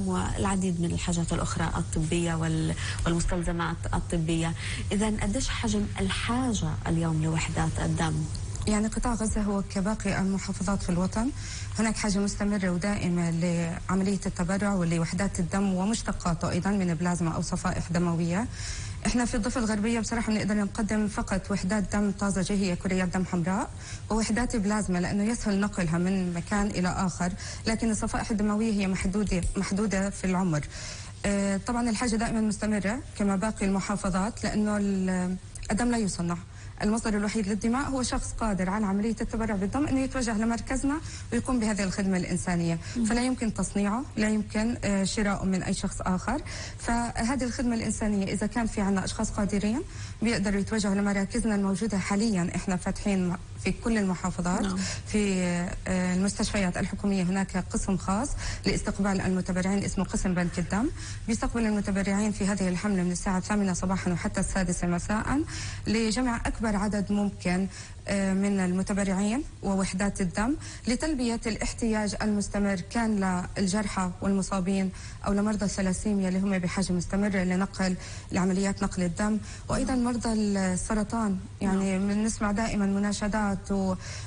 والعديد من الحاجات الأخرى الطبية والمستلزمات الطبية. إذن قديش حجم الحاجة اليوم لوحدات الدم؟ يعني قطاع غزة هو كباقي المحافظات في الوطن، هناك حاجة مستمرة ودائمة لعملية التبرع ولوحدات الدم ومشتقاته أيضا من بلازما أو صفائح دموية. احنا في الضفة الغربية بصراحة بنقدر نقدم فقط وحدات دم طازجة، هي كريات دم حمراء، ووحدات بلازما لأنه يسهل نقلها من مكان إلى آخر، لكن الصفائح الدموية هي محدودة في العمر. طبعا الحاجة دائما مستمرة كما باقي المحافظات، لأنه الدم لا يصنع. المصدر الوحيد للدماء هو شخص قادر على عملية التبرع بالدم أنه يتوجه لمركزنا ويقوم بهذه الخدمة الإنسانية، فلا يمكن تصنيعه، لا يمكن شراؤه من أي شخص آخر. فهذه الخدمة الإنسانية إذا كان في عنا أشخاص قادرين بيقدروا يتوجهوا لمراكزنا الموجودة حاليا. إحنا فاتحين في كل المحافظات. في المستشفيات الحكومية هناك قسم خاص لاستقبال المتبرعين اسمه قسم بنك الدم، بيستقبل المتبرعين في هذه الحملة من الساعة 8 صباحا وحتى 6 مساء لجمع أكبر عدد ممكن من المتبرعين ووحدات الدم لتلبية الاحتياج المستمر، كان للجرحى والمصابين أو لمرضى الثلاسيميا اللي هم بحاجة مستمرة لعمليات نقل الدم، وأيضا مرضى السرطان. يعني بنسمع دائما مناشدات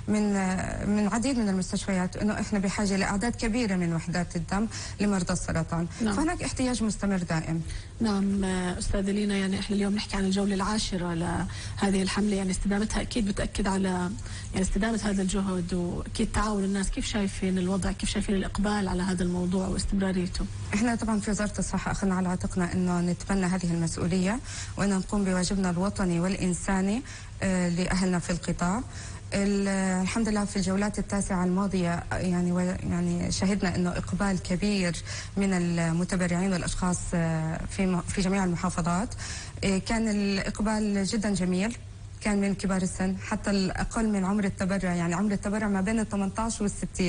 من عديد من المستشفيات أنه إحنا بحاجة لأعداد كبيرة من وحدات الدم لمرضى السرطان. فهناك احتياج مستمر دائم. نعم أستاذة لينا، يعني إحنا اليوم نحكي عن الجولة العاشرة لهذه الحملة، يعني استدامتها أكيد بتأكد على يعني استدامة هذا الجهد وأكيد تعاون الناس. كيف شايفين الوضع؟ كيف شايفين الإقبال على هذا الموضوع واستمراريته؟ إحنا طبعا في وزارة الصحة أخذنا على عاتقنا أنه نتبنى هذه المسؤولية وأن نقوم بواجبنا الوطني والإنساني لأهلنا في القطاع. الحمد لله في الجولات التاسعة الماضية يعني شهدنا أنه إقبال كبير من المتبرعين والأشخاص في جميع المحافظات. كان الإقبال جدا جميل، كان من كبار السن حتى الأقل من عمر التبرع، يعني عمر التبرع ما بين 18 وال60.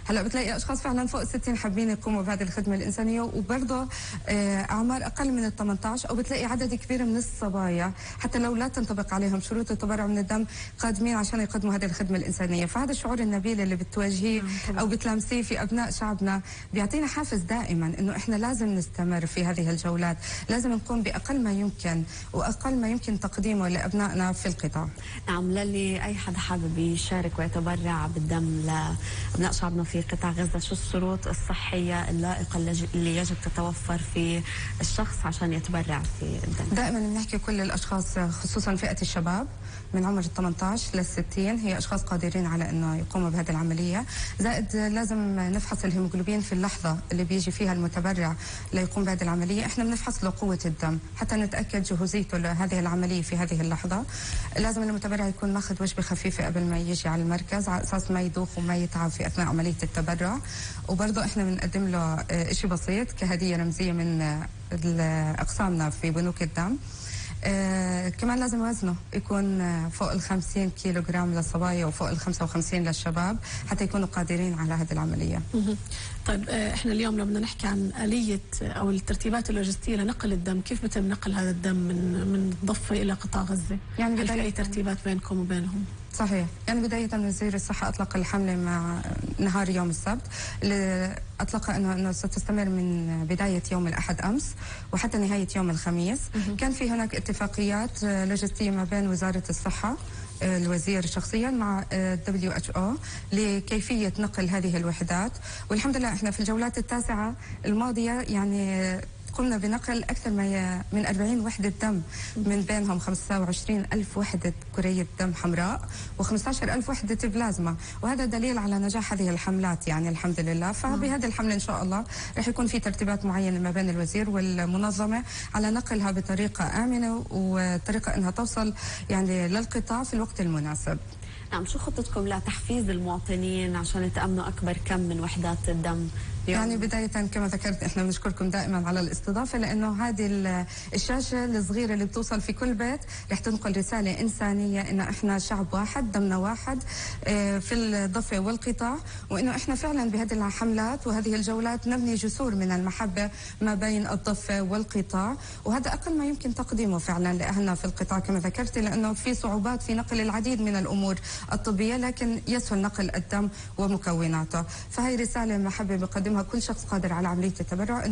هلا بتلاقي أشخاص فعلا فوق ال60 حابين يقوموا بهذه الخدمة الإنسانية، وبرضه أعمار أقل من ال18، أو بتلاقي عدد كبير من الصبايا حتى لو لا تنطبق عليهم شروط التبرع من الدم قادمين عشان يقدموا هذه الخدمة الإنسانية. فهذا الشعور النبيل اللي بتواجهيه أو بتلامسيه في أبناء شعبنا بيعطينا حافز دائما إنه إحنا لازم نستمر في هذه الجولات، لازم نقوم بأقل ما يمكن وأقل ما يمكن تقديمه لأبنائنا في القطاع. نعم، للي أي حدا حابب يشارك ويتبرع بالدم لأبناء شعبنا في قطاع غزة، شو الشروط الصحية اللائقة اللي يجب تتوفر في الشخص عشان يتبرع في الدم؟ دائما بنحكي كل الأشخاص خصوصا فئة الشباب من عمر 18 ل60 هي أشخاص قادرين على أنه يقوموا بهذه العملية. زائد لازم نفحص الهيموغلوبين في اللحظة اللي بيجي فيها المتبرع ليقوم بهذه العملية. احنا بنفحص له قوة الدم حتى نتأكد جهوزيته لهذه العملية في هذه اللحظة. لازم المتبرع يكون ماخذ وجبة خفيفة قبل ما يجي على المركز على أساس ما يدوخ وما يتعب في أثناء عملية التبرع. وبرضه احنا بنقدم له شيء بسيط كهدية رمزية من أقسامنا في بنوك الدم. كمان لازم وزنه يكون فوق 50 كيلو جرام للصبايا وفوق 55 للشباب حتى يكونوا قادرين على هذه العملية. طيب احنا اليوم لو بدنا نحكي عن آلية أو الترتيبات اللوجستية لنقل الدم، كيف بتم نقل هذا الدم من الضفة إلى قطاع غزة؟ يعني هل في أي ترتيبات بينكم وبينهم؟ صحيح، يعني بداية من وزير الصحة أطلق الحملة مع نهار يوم السبت، اللي أطلقها أنه ستستمر من بداية يوم الأحد أمس وحتى نهاية يوم الخميس. كان في هناك اتفاقيات لوجستية ما بين وزارة الصحة الوزير شخصيا مع WHO لكيفية نقل هذه الوحدات. والحمد لله احنا في الجولات التاسعة الماضية يعني قمنا بنقل أكثر من 40 وحدة دم، من بينهم 25,000 وحدة كرية دم حمراء و15,000 وحدة بلازما، وهذا دليل على نجاح هذه الحملات يعني الحمد لله. فبهذه الحملة إن شاء الله رح يكون في ترتيبات معينة ما بين الوزير والمنظمة على نقلها بطريقة آمنة وطريقة أنها توصل يعني للقطاع في الوقت المناسب. نعم، شو خطتكم لتحفيز المواطنين عشان يتأمنوا أكبر كم من وحدات الدم؟ يعني بداية كما ذكرت احنا بنشكركم دائما على الاستضافة، لأنه هذه الشاشة الصغيرة اللي بتوصل في كل بيت رح تنقل رسالة إنسانية إنه احنا شعب واحد دمنا واحد في الضفة والقطاع، وإنه احنا فعلا بهذه الحملات وهذه الجولات نبني جسور من المحبة ما بين الضفة والقطاع، وهذا أقل ما يمكن تقديمه فعلا لأهلنا في القطاع كما ذكرت، لأنه في صعوبات في نقل العديد من الأمور الطبية، لكن يسهل نقل الدم ومكوناته. فهي رسالة محبة بقدم بيقدمها كل شخص قادر على عملية التبرع.